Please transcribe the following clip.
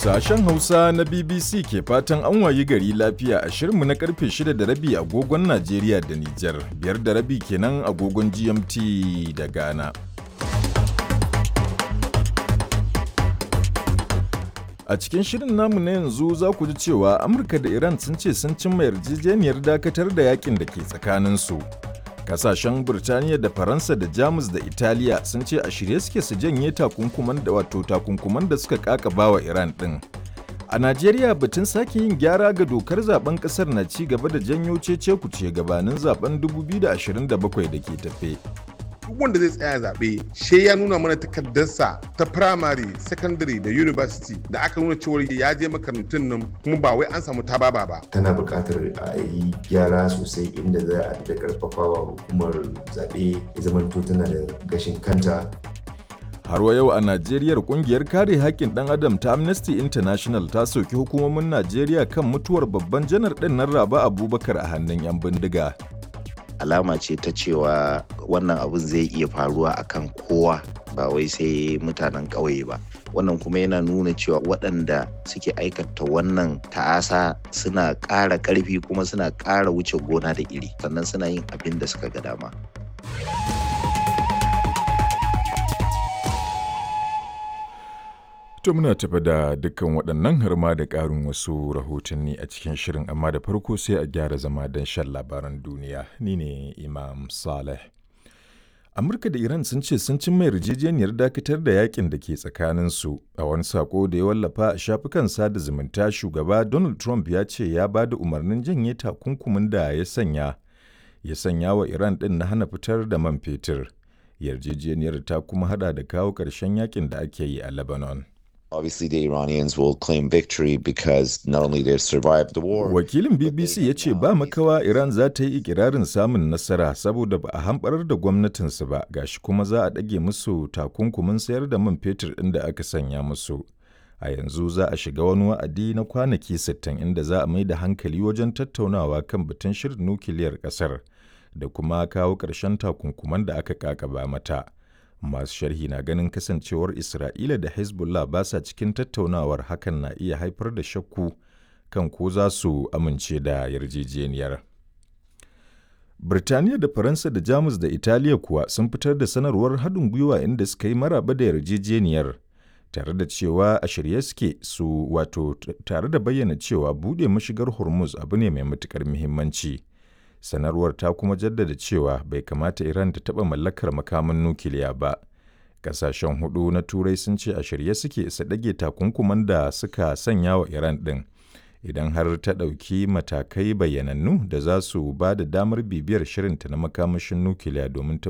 Sashen Hausa na BBC ke fatan an wayi gari lafiya a shirinmu na karfe 6 da rabi agogon Najeriya da Nijar, 5:30 kenan agogon GMT da Ghana. A cikin shirin namu na yanzu za ku ji cewa Amurka da Iran sun ce sun cimma yarjejeniyar dakatar da yakin da ke tsakaninsu. Kasashen Birtaniya da Faransa da Jamus da Italiya sun ce a shirye suke su janye takunkuman da wato takunkuman da suka kakaba wa Iran din. A Najeriya, batun sake yin gyara ga dokar zaben kasar na ci gaba da janyo cece kuce gabanin zaben 2027 da ke tafe. Duk wanda zai tsaya zaɓe she ya nuna mana takardarsa ta primary, secondary da university da aka nuna cewar ya je makarantun nan, kuma ba wai an samu tababa ba. Tana buƙatar a yi gyara sosai inda za a da ƙarfafawa hukumar zaɓe ya zamanto tana da gashin kanta. Har wa yau a Najeriya, kungiyar kare haƙƙin ɗan adam ta Amnesty International ta soki hukumomin Najeriya kan mutuwar babban janar ɗin nan Raba Abubakar a hannun 'yan bindiga. Alama ce ta cewa wannan abun zai iya faruwa akan kowa, ba wai sai mutanen ƙauye ba. Wannan kuma yana nuna cewa waɗanda suke aikata wannan ta'asa suna ƙara ƙarfi kuma suna ƙara wuce gona da iri, sannan suna yin abin da suka ga dama. To, muna tafi da dukkan waɗannan har ma da ƙarin wasu rahotanni a cikin shirin, amma da farko sai a gyara zama don shan labaran duniya. Ni ne Imam Saleh. Amurka da Iran sun ce sun cimma yarjejeniyar dakatar da yakin da ke tsakaninsu. A wani sako da ya wallafa a shafukan sada zumunta, shugaba Donald Trump ya ce ya ba da umarnin janye takunkumin da ya sanya wa Iran ɗin na hana fitar da man fetur. Yarjejeniyar ta kuma hada da kawo ƙarshen yakin da ake yi a Lebanon. Obviously, the Iranians will claim victory because not only they survived the war. Wakilin BBC ya ce ba makawa Iran za ta yi ikirarin samun nasara saboda ba a hamɓarar da gwamnatinsu ba, gashi kuma za a ɗage musu takunkumin sayar da man fetur ɗin da aka sanya musu. A yanzu za a shiga wani wa'adi na kwanaki 60 inda za a mai da hankali wajen tattaunawa kan batun shirin nukiliyar ƙasar da kuma kawo ƙarshen takunkuman da aka ƙaƙaba mata. Masu sharhi na ganin kasancewar Isra'ila da Hezbollah ba sa cikin tattaunawar, hakan na iya haifar da shakku kan ko za su amince da yarjejeniyar. Birtaniya da Faransa da Jamus da Italiya kuwa sun fitar da sanarwar haɗin gwiwa inda suka yi maraba da yarjejeniyar, tare da cewa a shirye suke su wato tare da bayyana cewa buɗe mashigar Hormuz abu ne mai matuƙar muhimmanci. Sanarwar ta kuma jaddada cewa bai kamata Iran ta taɓa mallakar makaman nukiliya ba. Ƙasashen hudu na Turai sun ce a shirye suke su ɗage takunkuman da suka sanya wa Iran ɗin idan har ta ɗauki matakai bayyanannu da za su ba da damar bibiyar shirinta na makamashin nukiliya domin tabbatar